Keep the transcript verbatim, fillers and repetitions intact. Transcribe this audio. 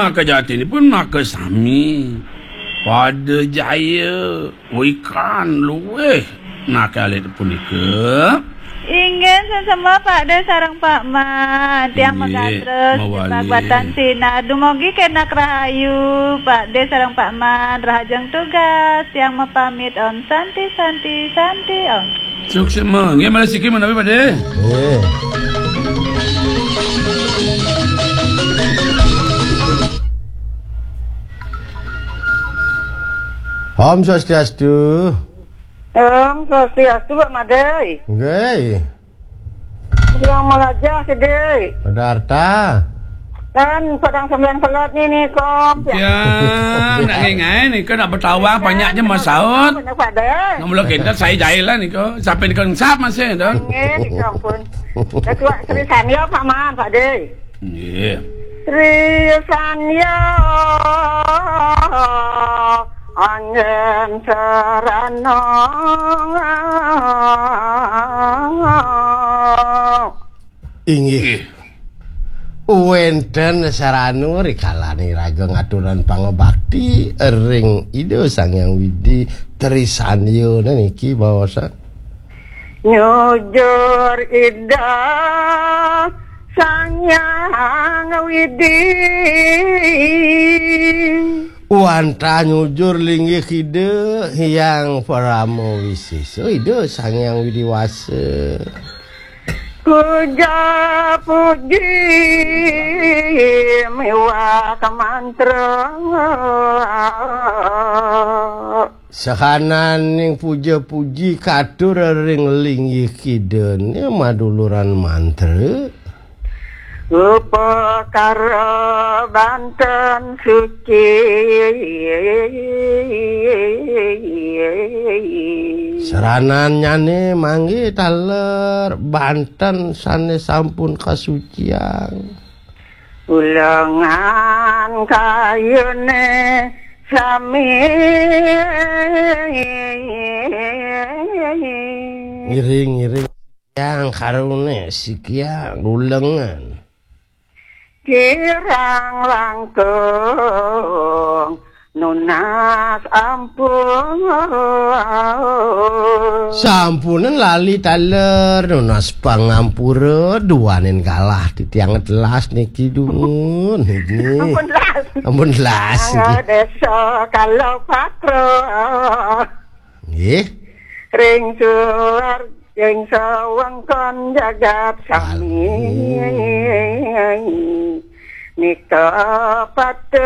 Maka jatinipun maka sami. Pada jaya wikan luwih nakal alit punika. Inggih, sesama Pak De sareng Pak Man. Tiang inggih, megatrus mawali. Di Pagbatan Sinar. Dumugi kenak rahayu, Pak De sareng Pak Man. Rahajeng tugas. Tiang mapamit. Om Santi, Santi, Santi, Om. Suksma. Nggih, malih siki menawi, Pak De. Nggih. Om Swastiastu. Om Swastiastu, Pak Madai. Nggih. Yang melajah sedih. Pada harta. Kan sedang sembilan selat ni, ni, Kom. Ya, nak ngengai ni, kau nak bertawang, banyak je masaut. Benar, Pak Dai. Nak mula kita, saya jahil lah ni, kau. Sampai ni kau ensap masih, tu. Nggih, ni, Kom, pun. Ketua Sri Sania, Pak Man, Pak Dai. Nggih. Sri Sanya Anggen Serano. Inggih. Nggih. Wenten sarana rikalane raga ngaturan pangabakti ring Ida Sang Hyang Widi Trisanyana niki baosan. Nyujur Ida Sang Hyang Widi. Wantah nyujur linggih Ida Hyang Parama Wisesa, Ida Sang Hyang Widi Wasa. Puja puji miwah mantra. Sahananing puja-puji katur ring linggih kidane maduluran mantra. Upakara banten suci. Saranannyane manggi taler banten sane sampun kasuciang. Ulengan kayune sami. Ngiring-ngiring yang karune sikiang ulengan. Kirang langkung nunas ampun. Sampunen lali taler nunas pangampura, duaning galah titiang telas niki dumun niki. Ampun telas. Ampun telas niki. Desa Kalopatra. Nggih. Ring suar, ring sawengkon jagat sami. Sami. Nika patut